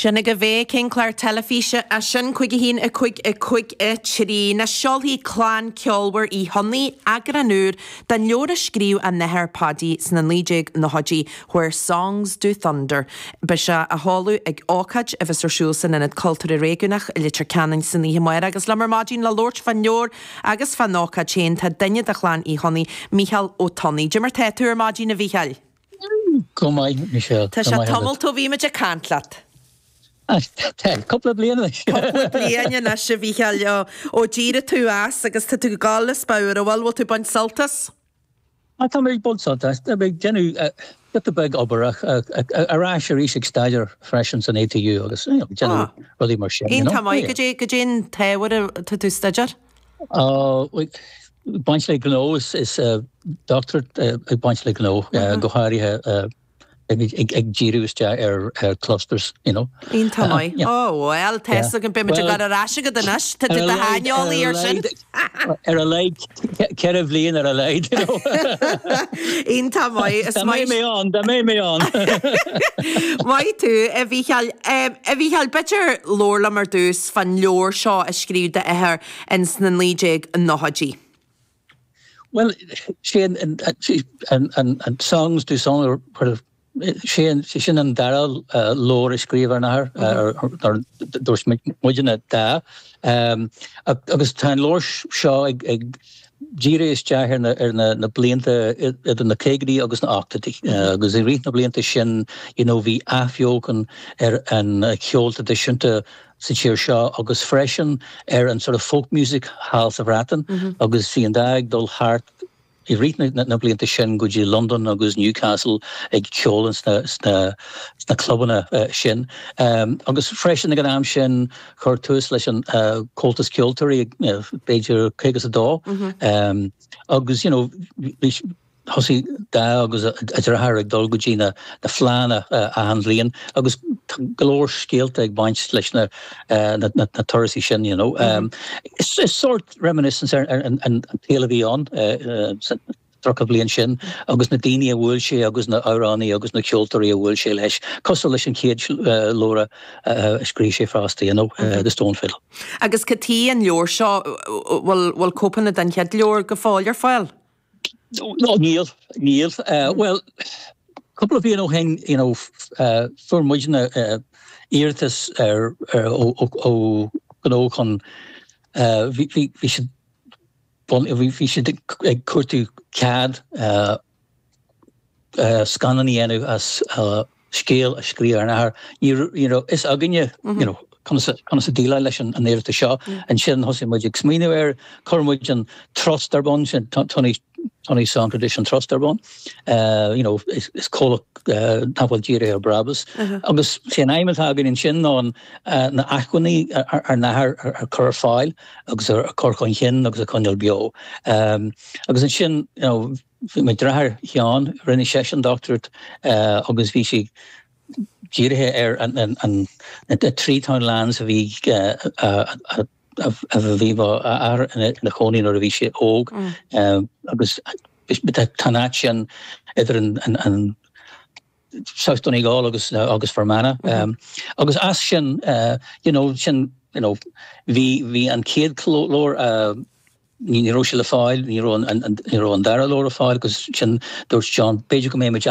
Sin agaibh é, cén clár teilifíse é sin? 5 1 5 5 3. Anois seolfaidh clann ceolmhar Uí Chonnaith eagrán úr den leabhar a scríobh a n-athair Paudie sna 1990idí, Where Songs Do Thunder. Beidh sé á sheoladh ag ócáid a bheas ar siúl san Ionad Cultúrtha Réigiúnach i Leitir Ceanainn san oíche amárach. Agus liom ar maidin le labhairt fán leabhar agus fán ócáid féin tá duine de chlann Uí Chonnaith, Mícheál Ó Tonnaigh. Cad é mar tá tú ar maidin, a Mhícheáil? Go maith, Michelle. Tá sé tamalt ó bhí muid ag caint leat. Tá, cúpla bliain anois. Cúpla bliain anois, a Mhícheáil, ó d'éirigh tú as agus tá tú ag gabháil as bodhar, an bhfuil? Bhfuil tú ag baint sult as? Tá mé ag baint sult as. Tá mé ag déanamh giota beag obair ach ar ais arís ag staidéar freisin san ATU agus you know, déanamh rudaí mar sin. Iontach maith. Cad é, cad é an t-ábhar atá tú ag staidéar? Baint le gnó is dochtúireacht ag baint le gnó, go háirithe ag díriú isteach ar clusters, you know. Iontach maith. Ó, bhuel, tá fhios agam, beidh muid ag gabháil ar ais agat anois. Tá tú i do shaineolaí ar sin. Ar a laghad, 4 bhliain ar a laghad, you know. Iontach maith. Dá mbeidh mé ann, dá mbeidh mé ann. Maith tú, a Mhícheáil. A Mhícheáil, b'fhéidir labhair liom ar dtús fán leabhar seo a scríobh d'athair ins na 1990idí. Bhuel, sé an Songs Do Thunder, sé sin an dara leabhar a scríobh ár n-athair, ar dúirt muidne Da. Agus tá an leabhar seo ag díriú isteach ar na blianta idir na caogaidí agus na ochtóidí. Agus i rith na blianta sin, you know, bhí athbheochan ar an cheol traidisiúnta sa tír seo agus freisin ar an sort of folk music thall sa Bhreatain agus bhí an Da ag dul thart i rith na blianta sin go dtí Londain agus Newcastle ag ceol sna sna clubanna sin. Agus freisin ag an am sin chuir tús leis an Comhaltas Ceoltóirí b'fhéidir 52 agus you know bhí Thosaigh Da agus a deartháir ag dul go dtí na fleánna achan bhliain agus tá go leor scéalta ag baint leis na turasaí sin, you know. Is sórt reminiscence ar an tsaol a bhí ann sa 30 bliain sin agus na daoine a bhuail sé agus na amhránaí agus na ceoltóirí a bhuail sé leis, cosúil leis an chéad leabhar a scríobh sé fosta, you know, The Stone Fiddle. Agus cad chuige an leabhar seo, bhfuil cóipeanna den chéad leabhar go fóill ar fáil? No, níl, níl. Bhuel, cúpla bliain ó shin, you know, fuair muidne iarratas ar, ó, ó ghnó chun, bhí, bhí, bhí siad, bhí, bhí siad ag cuartú cead scannán a dhéanamh as scéal a scríobh ár n-athair. Ní raibh fhios againne, you know, conas a déileáil leis an iarratas seo. Ansin thosaigh muid ag smaoineamh air, chuir muid an trust ar bun, sin Tunney Tunney Song Tradition Trust ar bun. You know, is comhlacht nach bhfuil dírithe ar brabús. Agus sé an aidhm atá againn ansin ná na acmhainní ár n-athair a chur ar fáil agus a chur chun cinn agus a choinneáil beo. Agus ansin, you know, Bhí mo dheartháir Sheán, rinne seisean dochtúireacht agus bhí sé dírithe ar an na trí townlands a bhí a bhí mo athair ina chónaí nuair a bhí sé óg agus tá an áit sin idir an South Donegal agus agus Fermanagh agus as sin you know sin you know bhí bhí an chéad leabhar ní raibh sé le fáil, ní raibh an, ní raibh an dara leabhar le fáil agus sin dúirt John b'fhéidir go mbeidh muid.